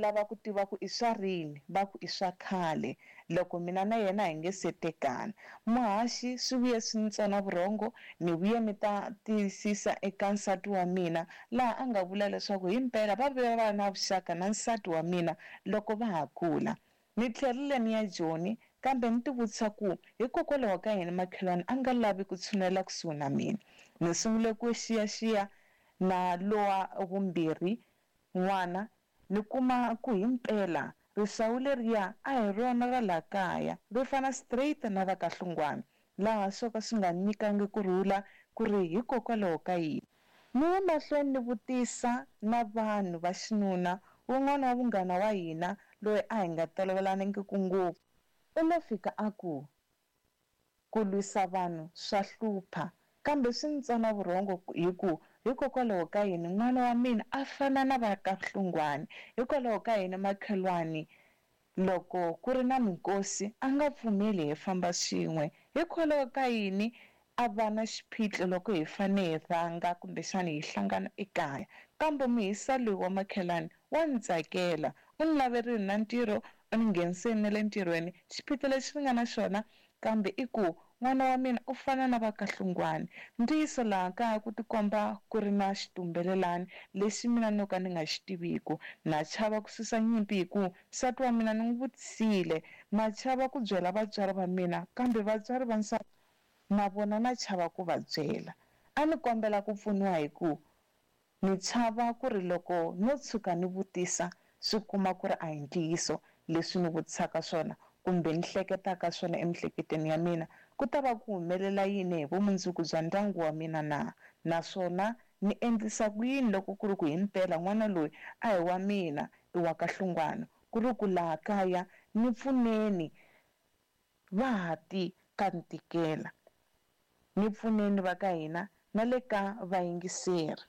ni lava ku tiva ku i swa rini, va ku i swa khale loko mina na yena hi nge se tekana. Muhaxi swi vuye swi ni tsona vurhongo, ni vuye ni ta tiyisisa eka nsati wa mina laha a nga vula leswaku himpela va vuye va va na vuxaka na nsati wa mina loko va ha kula. Ni tlherile ni ya Joni kambe ni tivutisa ku hikokwalaho ka yini makhelwani a nga lavi ku tshunela kusuhi na mina. Ni sungule ku xiyaxiya na lowa vumbirhi n'wana ni kuma ku himpela risawu leriya a hi rona ra laha kaya, ri fana straight na ra ka Hlungwani, laha swo ka swi nga ni nyikangi ku rhula ku ri hikokwalaho ka yini. Ni ye mahlweni ni vutisa na vanhu va xinuna, wun'wana wa munghana wa hina loyi a hi nga tolovelanangiki ngopfu u lo fika a ku, Ku lwisa vanhu swa hlupha, kambe swi ni tsona vurhongo hi ku hikokwalaho ka yini n'wana wa mina a fana na va ka Hlungwani? Hikwalaho ka yini makhelwani loko ku ri na minkosi a nga pfumeli hi famba swin'we? Hikwalaho ka yini a va na xiphiqo loko hi fane hi rhanga kumbexana hi hlangana ekaya? Kambe muhisa loyi wa makhelwani wa ni tsakela, u ni laverile na ntirho, u ni nghenisile na le ntirhweni. Xiphiqo lexi ni nga na xona kambe i ku n'wana wa mina u fana na va ka Hlungwani. Ntiyiso laha kaya ku tikomba ku ri na xitumbelelani lexi mina no ka ni nga xi tiviku. Na chava ku susa nyimpi hi ku nsati wa mina ni n'wi vutisile. Na chava ku byela vatswari va mina kambe vatswari va nsati na vona na chava ku va byela. A ni kombela ku pfuniwa hi ku ni chava ku ri loko no tshuka ni vutisa swi kuma ku ri a hi ntiyiso leswi ni vutisaka swona kumbe ni hleketaka swona emiehleketweni ya mina, ku ta va ku humelela yini hi vumundzuku bya ndyangu wa mina na? Naswona ni endlisa ku yini loko ku ri ku himpela n'wana loyi a hi wa mina, i wa ka Hlungwani, ku ri ku laha kaya ni pfuneni va ha ti ka ni tikela. Ni pfuneni va ka hina na le ka vayingiseri.